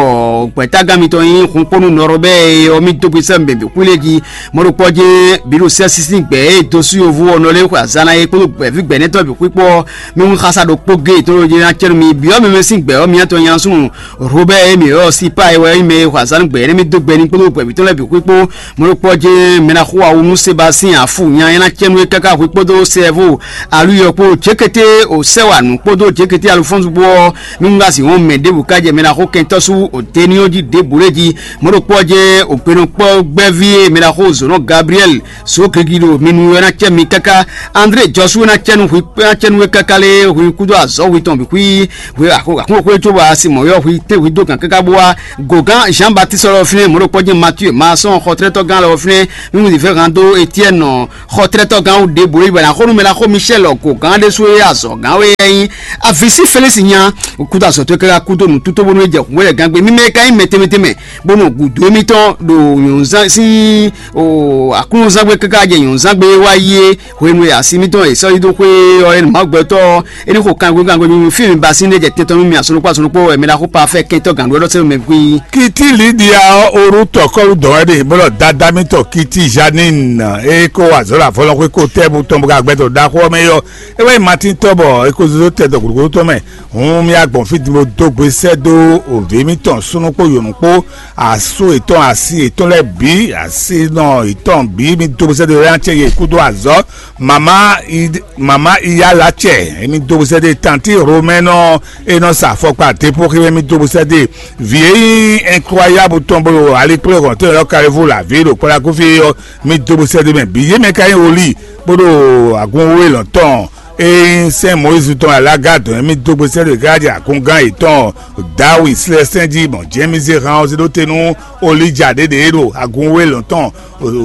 gbɛ̌tágán mitɔn nyí hunkpónú nɔrɔ bɛ́ e ɔ́, mì dó gbe sɛ́ mɛ bǐ xwí lé jí. Mɔ̌ ɖokpɔ́ jɛ́n bǐ ɖo sɛ́ sísí gbɛ̌ e dó sú yovo ɔ́ nɔ lɛ́ xwe azǎn ná é kpódó gbɛ̌ví gbɛ̌nɛtɔ́ bǐ xwí kpó ɔ́, mì hun xasaɖokpó géetɔ́ ɖo jí ná cɛ́ nú mi. Bǐ ɔ́, mi mɛ sín gbɛ̌ ɔ́, miatɔn nyasun Robɛ́ɛ e mǐ ylɔ́ Sipaa é wɛ nyí mɛ e xwe azǎn nú gbɛ̌ énɛ́ mì dó gbɛ n'i kpódó gbɛ̌ví tɔn lɛ́ɛ bǐ xwí kpó. Mɔ̌ ɖokpɔ́ jɛ́n mɛ ná xo awu nú Sebasín Afú nya é ná cɛ́ nú é káká hwe kpódó Sɛɛvú Aluyɔ kpó Jěkété Osɛ́wanǔ kpódó Jěkété Alufɔ́nsu kpó ɔ́, nú un ka sixú mɛ ɖěbǔ ká jɛ mɛ ná xo kɛntɔ́ sú Deniɔ́ jí ɖěbǔ lɛ́ɛ jí. Mɔ̌ ɖokpɔ́ jɛ́n òkpenɔkpɔ́ gbɛ́ví e mɛ ná xo zǒnɔ Gabliyɛ́li sǒ gigi ɖo mi nu ɔ́ ná cɛ mi káká. André Jɔsú ná cɛ nú hwi ná cɛ nú we káká lé hwi kúdó azɔ̌ hwi tɔn bǐ xwí hwe àkókò xwé cóbɔ asi mɔ̌ ylɔ́ hwi té hwi dó gǎn káká bó wá. Gǒgán Jean Baptiste lɔ fínɛ́, mɔ̌ ɖokpɔ́ jɛ́n Matíe Maasɔn xɔtlɛ́tɔ́gán lɔ fínɛ́, nú Zivɛ́ han dó Etiɛ́nɔ xɔtlɛ́tɔ́gán wú ɖěbǔ é bɔ è nǎ xo nú mɛ ná xo Michɛ́l gǒgán ɖésú e azɔ̌gán wɛ é nyí. Avǐsí Felísi nya kúdó azɔ̌ towe káká kúdó nǔtútó bónú é jɛ hǔnwɛ́lɛ́gán gbe. Mi mɛ e ka nyí mɛ tɛnmɛ tɛnmɛ bó nɔ gǔdo émítɔn ɖo nyɔ̌nzán sín o aklúnɔzángbe káká jɛ nyɔ̌nzángbe wá yi é. Hwenu e asi mitɔn e sɔ́ yi dó xwé ɔ́, é nɔ Mawu gbɛtɔ́ ɔ́, é ní xo kanwekwe kanwekwe nú fí mi ba sín ɖé jɛ tɛn tɔn nú mi asɔnukpó asɔnukpó wɛ mɛ ɖaxó pafɛ kɛntɔ́ gǎn ɖó ɛlɔ́ sɛ́ mɛ gbí. Kiti Lidia ɔ́, orú tɔkɔ́lú dɔn wɛ ɖe bó ɖɔ dada mitɔn Kiti Janine e kó wa zɔ̌ ɖo avɔlɔxwé ko tɛ́ bú tɔn bó ka gbɛtɔ́ ɖaxó ɔ́ mɛ é ɔ́, é wɛ nyí Matín tɔ́ bɔ é ko zé dó tɛ dɔ gǔdo tɔn mɛ. Hǔn mì wá gbɔn fí din bó dó gbe sɛ́ dó òvǐ mitɔn súnnu kpó yǒnu kpó, asú yětɔn, asi yětɔn lɛ́ɛ bǐ, asinɔ yětɔn bǐ, mì dó gbe sɛ́ dó yɔ́yá ce yě kúdó azɔ̌. Mama i mama iya la cɛ, mì dó gbe sɛ́ dó tanti Romɛnɔ e nɔ sa afɔkpa depo xi mɛ, mì dó gbe sɛ́ dó vǐ e nyí incroyable tɔn bó ɖo alikplé hɔn tó yɔ́ Kalifu la vǐ ɖo kpɔ́ɖá kúfí ɔ́, mì dó gbe sɛ́ dó mɛ bǐ. Yě mɛ ka nyí Oli bó ɖo agun wé lɔn tɔn. Ée sɛ́n Mɔyízi tɔn wɛ Alaga dɔn émí dó gbe sɛ́ ɖo Galadi akungán yětɔn Dawi slɛ́sɛn jí mɔ Jɛmízi hán ɔ́ zé ɖó te nú Olija ɖě ɖě e ɖo agun wé lɔn tɔn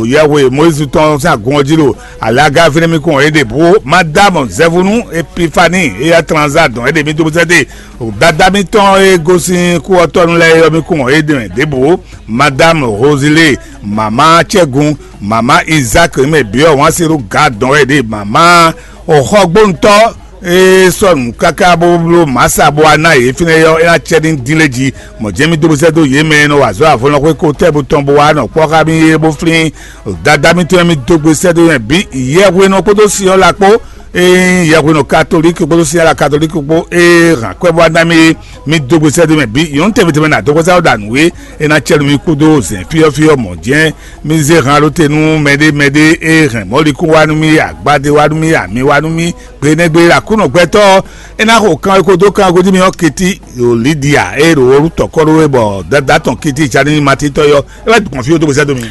yɛhwe Mɔyízi tɔn sín agun ɔ́ jí ɖo Alaga fínɛ́ mì kún ɔ́ é ɖe bǔ. Madamɔ Zɛvunu Epifani éyɛ́ Tranza dɔn é ɖe mì dó gbe sɛ́ ɖe. Dada mitɔn e gosín kú ɔ́ tɔnu lɛ́ɛ é ɔ́ mì kún ɔ́ é ɖe mɛ ɖěbǔ. Madamɔ Hozile, mama Cɛgun, mama Izak mɛ bǐ ɔ́ wǎn se ɖó ga dɔn wɛ ɖe mama Xɔgbóntɔ́ e sɔ́ nǔ káká bó bló mǎsa bó wá ná yě fínɛ́ ɔ́, é ná cɛ ní dín lé jí. Mɔ̌ jɛ́n mì dó bó sɛ́ dó yě mɛ e nɔ wa azɔ̌ avɔlɔxwé ko tɛ́ bo tɔn bó wá nɔ kpɔ́ xá mì é bó flín dada mitɔn e mì dó gbe sɛ́ dó nyɛ bǐ yɛhwenu ɔ́ kpódó sin ɔ́ la kpó. Ényí yɛhwenɔ katolíki kpódó sinyála katolíki kpó e hɛn akwɛ́ bó wá ná mì é, mi dó gbe sɛ́ dó mɛ bǐ. Nyɔ̌nu tɛnmɛ tɛnmɛ ná dó xwésá ɖo ɖa nǔ é, é ná cɛ nú mi kúdó zɛ̌n fyɔ́fyɔ́ mɔ̌ jɛ́n. Mi zé han ɖó te nú mɛɖé mɛɖé e hɛn mɔ̌likún wá nú mì, agbadé wá nú mì, ami wá nú mì, gbe nɛ́ gbe Aklúnɔ gbɛtɔ́ ɔ́, é ná xo kan e ko dó kan e ko jí mi ɔ́ keti ɖo Lidia e ɖo Wɔlútɔkɔ́ ɖó é bɔ dadá tɔn kiti Janini Matín tɔn é ɔ́, é wɛ gbɔn fí ó dó gbe sɛ́ dó mi.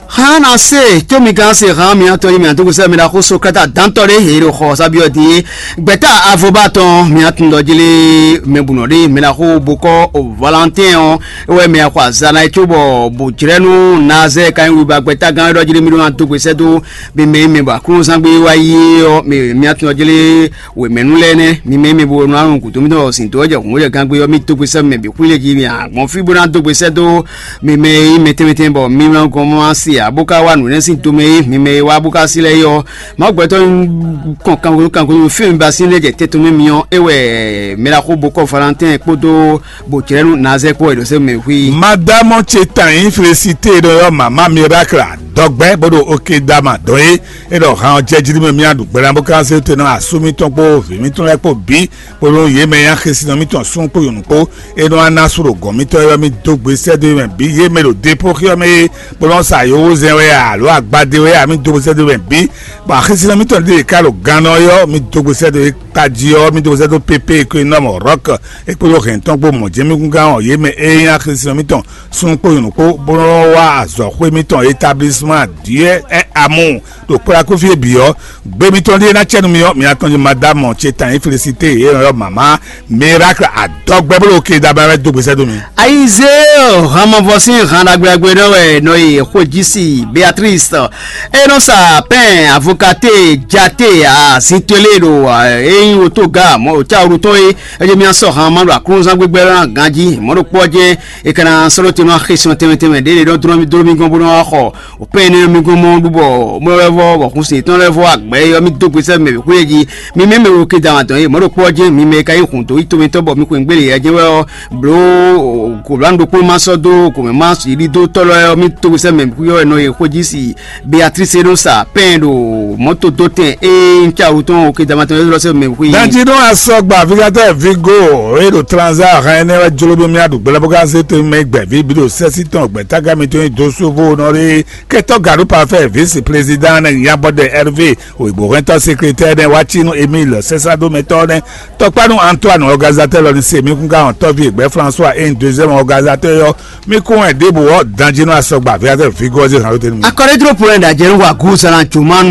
Hán ná se tó mi gán se hán mi atɔn yi mi àdúgbò sɛ mi la xó Sókrata dántɔ ɖé he ɖo xɔ sábíɔ din é. Gbɛtá avoba tɔn mi atun dɔ jele mɛ bunɔ ɖé mi la xó bokɔ o Valentin ɔ́, é wɛ mi axɔ azana é cóbɔ bò jrɛ́ nú Nazɛ ka nyí wiba gbɛtá gán ɖɔ jele mi ɖó ná dó gbèsè dó mi mɛ mi bɔ aklúnúzán gbé wá yí ɔ́ mi mi atun dɔ jele wěmɛnú lɛ́ɛ nɛ́, mi mɛ e mi bo nɔ alɔn gǔdo mitɔn sin dó wɛ jɛ hǔn wɛ jɛ gangbe ɔ́, mi dó gbe sɛ́ mɛ bǐ xwí lě jí mi a gbɔn fí bó ná dó gbe sɛ́ dó mi mɛ e nyí mɛtɛnmɛtɛn bɔ mi wlán gɔn mɔ asi ǎ bó ka wá nǔ nɛ́ sín tomɛ é, mi mɛ e wá bó ka sí lɛ́ɛ é ɔ́, Mawu gbɛtɔ́ kɔn kangodo kangodo fí mi ba sín lɛ́ jɛ tɛ́ tomɛ mi ɔ́, é wɛ mɛ ɖaxó bó kɔ Valentin kpódó bó jlɛ́ nú Nazɛ kpó wɛ ɖo sɛ́ mɛ xwí. Madamɔ ce tan yín Felisite ɖɔ yɔ mama Miracle dɔgbɛ bó ɖo oke dama dɔn é. É ɖɔ han ɔ́ jɛ jí mɛ mía ɖu gbɛɖá bó ka zé te nɔ asú mitɔn kpó vǐ mitɔn lɛ́ɛ kpó bǐ, kpódó yě mɛ e nyí axésinɔ mitɔn súnnu kpó nyɔ̌nu kpó, é nɔ wá ná sú ɖo gɔ̌n mitɔn é wɛ mì dó gbe sɛ́ dó mɛ bǐ. Yě mɛ ɖo depo xyɔ́ mɛ é, bó nɔ́ sa yǒhózɛn wɛ a, alǒ agbadé wɛ a, mì dó gbe sɛ́ dó mɛ bǐ. Bɔ axésinɔ mitɔn ɖíe ka ɖo gannɔ é ɔ́, mì dó gbe sɛ́ dó é tají ɔ́, mì dó gbe sɛ́ dó pépé e ko e nɔ mɔ Rɔ̌k é kpódó hɛn tɔn kpó mɔ̌ jɛ́n mì gúngán ɔ́, yě mɛ e nyí axésinɔ mitɔn súnnu kpó nyɔ̌nu kpó, bó nɔ́ wá azɔ̌xwé mitɔn établisman Dieu est amour ɖo kplakúfí e bǐ ɔ́. Gbe mitɔn ɖíe ná cɛ nú mi ɔ́, mi atɔn jí Madamɔ ce tan nyí Felisite e nɔ ylɔ́ mama Miracle adɔgbɛ́ bó ɖo ke dabá wɛ dó gbèsè dó mi. Ayizéo hanmɔvɔ sín han ɖagbeɖagbe nɔ wɛ nɔ yi xwejisi Beatrice e nɔ sa pɛn avokate jate azintɔ́ lé ɖo eyín wotoga mɔ òcáwuru tɔn é. Eye mi asɔ han ma ɖo aklúnzán gbígbɛ lɔ ná ganjí mɔ ɖo kpɔ́ jɛ́n e ka ná sɔ́ ɖó te nɔ axésun tɛnmɛ tɛnmɛ ɖě ɖe nɔ dlɔ́ mi dló mi gɔ́n bó nɔ wá xɔ òpɛ́n énɛ́ mi gɔ́n mɔ ɖu bɔ mɔ lɛ́ vɔ bɔ xun sin tɔn lɛ́ vɔ agbɛ̌ yɔ mi dó gbe sɛ́ mɛ xwé jí. Mi mɛ mɛ wo ke da dɔn ye mɔ̌ ɖo kpɔ́ jɛ́n mi mɛ ka nyí hun dó yi tomɛtɔn bɔ mi xwe ngbélé yɛ jɛ́n wɛ ɔ́ bló kòlán ɖokpó ma sɔ́ dó kòmɛ ma yi ɖi dó tɔ́ lɔ ɔ́ mi dó gbe sɛ́ mɛ xwé ɔ́ nɔ ye xwé jí si Beatrice e nɔ sa pɛn ɖo mɔto dó tɛn e ŋca wutɔn o ke damatɔn e lɔ sɛ mɛ xwé. Danji nɔ asɔgba vigatɔ vigo e ɖo tranza hɛn ne wɛ jolo bí mi aɖu gbɛlɛ bó ka se to mɛ gbɛ vi bi ɖo sɛsi tɔn gbɛ taga mi to nyi do sovo nɔ ɖe kɛtɔ gaɖu parfait vice président ne yabɔdɛ Hervé, òyìnbó hɛntɔ secrétaire ne wá tsi nú Emile sɛsadomɛtɔ ne tɔkpanu Antoine organisateur lɔ ni se mi kún ka hɔn tɔvi gbɛ François e deuxième organisateur yɔ mi kún wɛ ɖěbǔ ɔ́ danji nɔ asɔgba vigatɔ vigo ɔ́ zé hàn lóte nú mi. Akɔɖédúró polɛ ɖajɛ nú wa gúzan jùmɔ́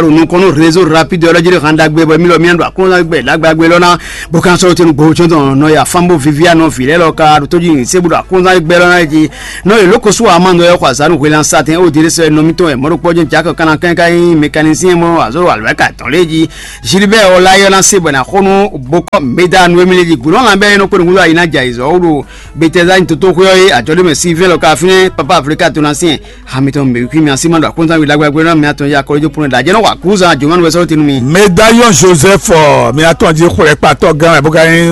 nukɔn nú réseau rapide ɔlɔjiri hàn dagbe bɔ mi lɔ mi ɖo akɔnzan gbɛ dagbe lɔ na bó kan sɔrɔ tenu gbɔn tsɔn tɔn nɔ ya fan bó vivi anɔ vi lɛ lɔ ka ɖo tóji se bó ɖo akɔnzan gbɛ lɔ na ji nɔ ye lóko sú ama nɔ yɛ xɔ azanu hwelan satɛn o diri sɛ nɔ mitɔn yɛ mɔɖo kpɔjɛ jakɔ kana kɛn ka yi mécanicien mɔ azɔ alwɛ ka tɔn lé ji Gilbert ɔla yɔ na se bɔ na xɔnu bokɔ meda nu emile ji gulɔ lan bɛ nɔ kpɛn ŋudu ayi na ja izɔ wo ɖo Bethesda nyi toto xwé ɔ́ é ajɔ̌ ɖé mɛ Sylvain lɔ ka fínɛ́ papa Afrika to na syɛn ha mitɔn mɛ wíkwí mi así ma ɖo akɔnzán wi lágbára gbéná mi atɔn ya kɔlɔjɔ pɔnɔ ɖajɛ nɔ wa kúzan jɔmanu wɛ sɔ́ tenu mi. Médaillon Joseph ɔ, mi atɔn jí xwlɛkpatɔ gán wɛ bó ka nyí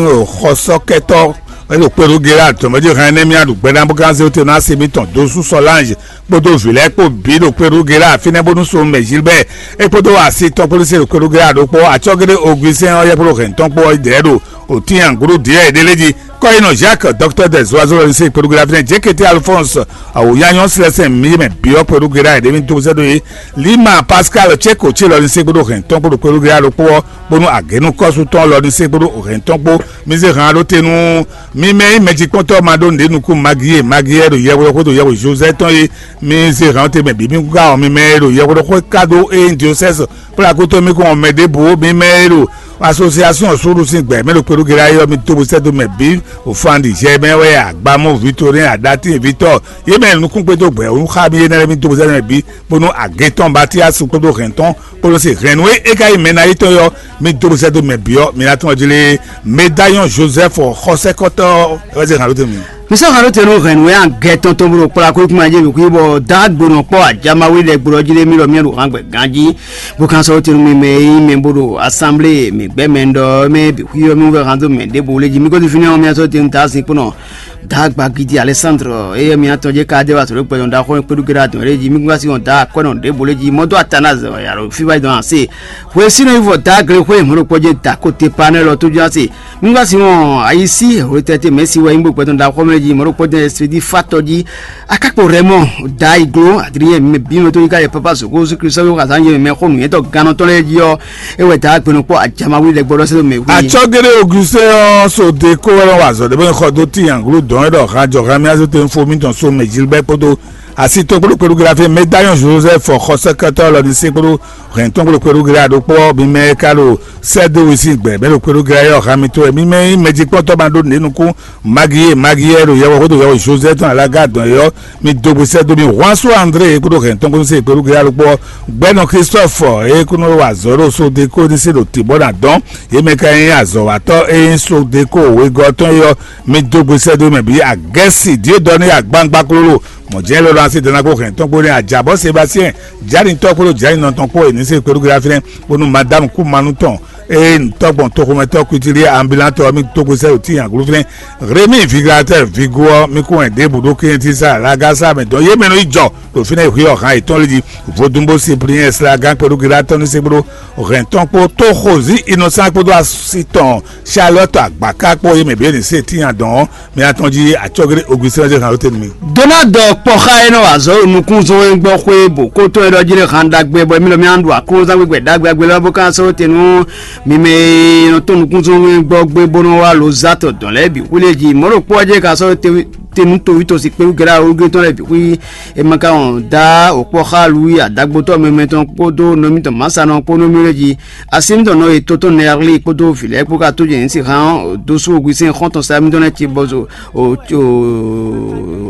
xɔsɔkɛtɔ wɛ ɖo kpɛɖo Gérard tɔmɛdzi hɛn nɛ mi aɖu gbɛɖá bó ka zé te na se mitɔn dó sú Solange kpódó vǐ lɛ́ɛ kpó bǐ ɖo kpɛɖo Gérard fínɛ́ bónú so mɛ Gilbert é kpódó asi tɔn kpódó se ɖo kpɛɖo Gérard ɖokpó atsɔ́géɖé Augustin ɔ́ yɛ kpódó hɛn tɔn kpó ɔ́ yi dɛ̌ ɖo òtín angúɖú Dieu ɖé lé jí. Kɔyinɔ Jacques, docteur des oiseaux lɔ ní se kpɛɖugbɛ́ fínɛ́ Jékété Alphonse, awòyányɔ Célestin mímɛ byɔ́ kpɛɖugbɛ́ ɖe mi tó sɛ́ ɖó é. Lima Pascal Tcheko ce lɔ ní se kpódó hɛn tɔn kpódó kpɛɖugbɛ́ ɖokpó ɔ́, bónú agěnú kɔ́sú tɔn lɔ ní se kpódó hɛn tɔn kpó. Mi zé hǎn ɖó te nú mi mɛ nyí mɛjikpɔ́ntɔ́ ma ɖó nǔɖé nukún Magie, Magie ɖo yɛhweɖɔxó ɖo yɛhwe José tɔn é. Mi zé hǎn te mɛ bǐ mi kú ká ɔ́, mi mɛ e ɖo yɛhweɖɔxó ká ɖó é nyí diosɛ́si kplá kútó mi kún ɔ́ mɛ ɖěbǔ mi mɛ e ɖo asosiasɔn súɖu sín gbɛ mɛ ɖo kpɛɖú Gera yɔ mi dó bó sɛ́ dó mɛ bǐ òfandì jɛ mɛ wɛ agbamú Victorin Adatin Victor yé mɛ nukún kpédó gbɛ òun xá mi yé nɛ́ mi dó bó sɛ́ dó mɛ bǐ bónú agě tɔn Batiasu kpódó hɛn tɔn kpódó se hɛn nú é é ka yi mɛ ná yi tɔn yɔ mi dó bó sɛ́ dó mɛ bǐ ɔ́ mi ná tɔn jlé Médaillon Joseph xɔsɛ́kɔtɔ́ wɛ zé hàn ló tɛ́ mi. Mi sɔ́ hɛn ɖó te nú hɛ̌nnu e agɛ tɔn tɔn bó ɖo kplá kúkúma jí bǐ xwí bɔ dǎgbonɔ kpɔ́ ajamawe lɛ́ɛ gblɔ jí ɖé mì ɖɔ mì ɖo hǎn gbɛ ganjí, bó kan sɔ́ ɖó te nú mi mɛ e nyí mɛ bó ɖo asanblée mǐ gbɛ́ mɛ ɖɔ mɛ bǐ xwí ɔ́ mì wɛ hán dó mɛ ɖěbǔ lé jí. Mì ko ɖi fínɛ́ ɔ́, mì sɔ́ ɖó te nú Daazín kpó nɔ Dǎgbagidi Alɛsándro, éyɛ́ mì atɔn jɛ ka jɛ wa sɔ̌ ɖo gbɛdɔn ɖaxó kpéɖu géɖé adɔn ɖé jí, mì kún ka sí wɔn dǎ akwɛ́nɔ ɖěbǔ lé jí, mɔ̌ dó Atanáze wɛ yǎ ɖo fí wá yi dɔn ase. Hwesínɔ yi vɔ dǎ glexwé mɔ̌ ɖokpó jɛ dǎ ko te pa nɛ́ lɔ tójú ase. Mì kún ka sí wɔn ayisí hwetɛ́te mɛ̌si wɛ nyí bó gbɛdɔn ɖaxó mɛ jí, mɔ̌ ɖokpó jɛ Sidi fátɔ jí. Akákpo Rɛmɔ, dǎ iglo, adriyɛn mɛ bí mɛ tó nyí ká yɛ pápá zǒgó Jezu Kristu sɔ́ wí xazán yɛ mɛ xó nǔnywɛ́tɔ́ gannɔtɔ́ lɛ́ɛ jí ɔ́, é wɛ dǎ gbenɔkpɔ́ ajamawe lɛ́ gbɔɖɔ sɛ́ dó mɛ wú. Acɔ́géɖé Augustin ɔ́ so de kó wɛ lɔn wa azɔ̌ ɖé bɔ xɔ dó tíyanglú dɔn é ɖɔ hán jɔ hán mì azé tɛn fó mítɔn so mɛ Gilbert kpódó asi tɔn kpódó kpéɖu Grafé Médaillon Joseph xɔ sɛkɛtɔ́ lɔ ní sé kpódó hɛn tɔn kpódó kpéɖu Gra ɖokpó ɔ́ mi mɛ e ka ɖo sɛ́ dó wi sín gbɛ̌ mɛ ɖo kpéɖu Gra é ɔ́ hán mitɔn wɛ mi mɛ nyí mɛjíkpɔ́ntɔ́ ma ɖó nǔɖé nukún Magie Magie e ɖo yɛhwexótó yɛhwe Joseph tɔn alága dɔn é ɔ́ mi dó gbe sɛ́ dó mì Huansó André e kúɖó hɛn tɔn kúnú sí e kpéɖu Gra ɖokpó ɔ́ gbɛ́nɔ Christophe e kúnú wa azɔ̌ ɖo sódekónisí ɖo tǐ bɔ ná dɔn yě mɛ ka nyí azɔ̌watɔ́ e nyí sódekó wegɔ́ tɔn é ɔ́ mi dó gbe sɛ́ dó mɛ bǐ agɛ́si Diodɔni agbangba klolo mɔ̌ jɛ́n lɔlɔ asi dɔn ná kó hɛn tɔn kpó nɛ́ ajǎbɔ́ Sebastien Janitɔ́ kpódó Janinɔ tɔn kpó e ní se kpéɖu Gra fínɛ́ bónú Madame Kumanu tɔn eye nǔtɔ́gbɔn toxomɛtɔ́ Kutilia Ambilantɔ ɔ́ mì dó gbe sɛ́ ɖo tíin aglú fínɛ́ Rémi Viglatɛ́ Vigo ɔ́ mì kún wɛn ɖěbǔ ɖó Klɛ́ntísa Lagasa mɛ dɔn yě mɛ nɔ yi jɔ ɖo fínɛ́ xwé ɔ́ hǎn yětɔn lé jí. Vodúnbó Sipliyɛ́n Slagán kpódó Gilatɔ́ni sé kpódó hɛn tɔn kpó tó xozí Innocent kpódó asi tɔn Charlotte Agbaka kpó yě mɛ bǐ e ní se tíin adɔn ɔ́ mɛ atɔn jí acɔ́gblé Augustin ɔ́ jɛ hǎn ló tɛ́ nú mì. Donald kpɔxa e nɔ wa azɔ̌ ɖo nukúnzɔ́n e gbɔ xwé bò kó tɔn e ɖɔ jí ɖe han ɖagbe bɔ émí lɔ mì ɖo aklúnɔzán gbígbɛ ɖagbe agbe lɛ́ɛ bó ka sɔ́ te nú mi mɛ e nɔ tɔ́n nukúnzɔ́n e gbɔ gbé bó nɔ wá lo zá tɔ dɔn lɛ́ɛ bǐ xwlé jí mɔ̌ ɖo kpɔ́ ɔ́ jɛ ka sɔ́ te nú toví tɔn si kpéwú gɛ́ɖá ológé tɔn lɛ́ɛ bǐ xwí e ma ka wɔn dá òkpɔ́ xá Luwi adagbotɔ́ mɛmɛ tɔn kpódó nɔmí tɔn Mǎsanɔ kpó nɔmí lɛ́ɛ jí. Asi mǐtɔn nɔ e to tɔn Nɛɛrli kpódó vǐ lɛ́ɛ kpó ka tó jɛ nyǐ si hán dó sú ogwi sín xɔ́ntɔn sa mǐtɔn lɛ́ɛ ci bɔ zo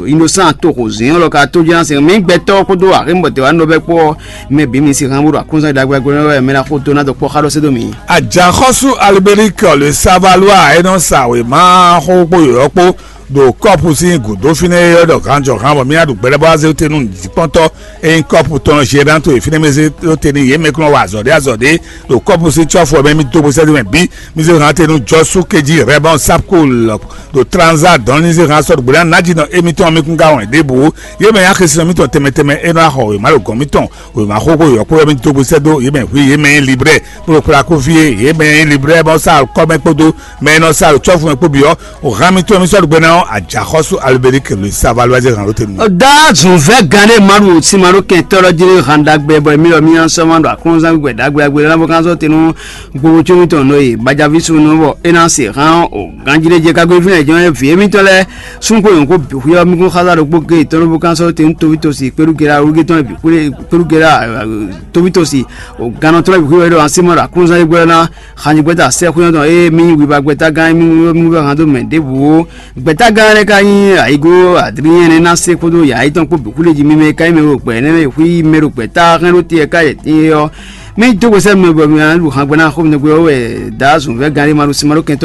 Innocent toxo zǐn ɔ́ lɔ ka tó jɛ́n ná se mǐ gbɛtɔ́ kpódó axémɔtɛ́wánɔ bɛ́ kpó ɔ́, mɛ bǐ mi si hán bó ɖo aklúnɔzán ɖagbe agbe wɛ mɛ ná xo dó ná dɔ kpɔ́ xá ɖɔ sé dó mǐ. Ajaxɔ́sú Alibelíkɛ le Savalois é nɔ sa wěma xó kpó yɔ̌yɔ́ kpó ɖo kɔ́pu sín gǔdo fínɛ́ é ɔ́ ɖɔ gǎnjɔgǎn bɔ mì ná ɖu gbɛɖɛbɔ́ azé tɛ́ nú nǔjíkpɔ́ntɔ́ e nyí kɔ́pu tɔn Gerán to e fínɛ́ mɛ zé ɖó te n'i yě mɛ kún nɔ wa azɔ̌ ɖé azɔ̌ ɖé ɖo kɔ́pu sín cɔ́fu ɔ́ mɛ mì dó gbe sɛ́ dó mɛ bǐ. Mi zé hǎn te nú Jɔsú kejí Rɛbɔn Sapkul ɖo Tranza dɔn ní zé hǎn sɔ́ ɖo gběɖá nájínɔ émítɔn mi kún ka wɛn ɖěbǔ. Yě mɛ nyí axésinɔ mítɔn tɛnmɛ tɛnmɛ é nɔ wá xɔ wěma ɖo gɔ̌n mítɔn wěma xóxó yɔ̌kpɔ́ wɛ mì dó gbe sɛ́ dó yě mɛ hwí yě mɛ nyí Librɛ́ kpódó Plaku fí e yě mɛ nyí Librɛ́ bɔ sá kɔ́mɛ kpódó mɛ e nɔ sá ɖo cɔ́fu mɛ kpó bǐ ɔ́, o hǎn mitɔn mi sɔ́ ɖo gbɛ ná ɔ́, ajǎxɔ́sú Alubɛ́rík Luis Savalwɛ́ zé hǎn ɖó te nú. Dá zǔnvɛ́ gán ɖé ma ɖo sin ma ɖó kɛntɔ́ ɔ́ jí hǎn ɖagbe bɔ émí lɔ mì nɔ sɔ́ ma ɖo aklúnɔzán gbígbɛ ɖagbe agbe lɛ́ɛ ná bó ká sɔ́ te nú gbowócómí tɔn nɔ e gbajaví sunu bɔ é ná se hán o ganjí ɖé jɛ kágbé fínɛ́ jɔ́n vǐ émítɔn lɛ́ɛ súnxó nyɔ̌nkó bǐ xwíyɔ́ mí kún xázá ɖokpó géé tɔn bó ká sɔ́ te nú toví tosi kpéɖúgera wúgé tɔn bǐ xwlé kpéɖúgera toví tosi o gannɔ tɔn bǐ xwíyɔ́ ɖo asímɔ ɖo aklúnɔzán gbɛ́ ná xanyigbɛ́ta sɛ́xwé tɔn ée mí wibagbɛ́tagán mí wɛ hán dó mɛ ɖěbǔ ó. Gbɛ̌tagán lɛ́ɛ ka nyí ayǐgó Adriɛn ná se kpódó yǎyí tɔn kpó bǐ xwlé jí mímɛ́ ká nyí mɛ ɖo gbɛ̌ nɛ́ mɛ xwí mɛ ɖo gbɛ̌ta hɛn ɖó te ká yɛ ɔ́. Mì dó gbe sɛ́ mɛ bɔ mì ná ɖu hǎngbɛ́ ná xó mi nɛgbɛ ɔ́ wɛ dǎ zǔnvɛ́ gán ɖé ma ɖo sin ma ɖó kɛn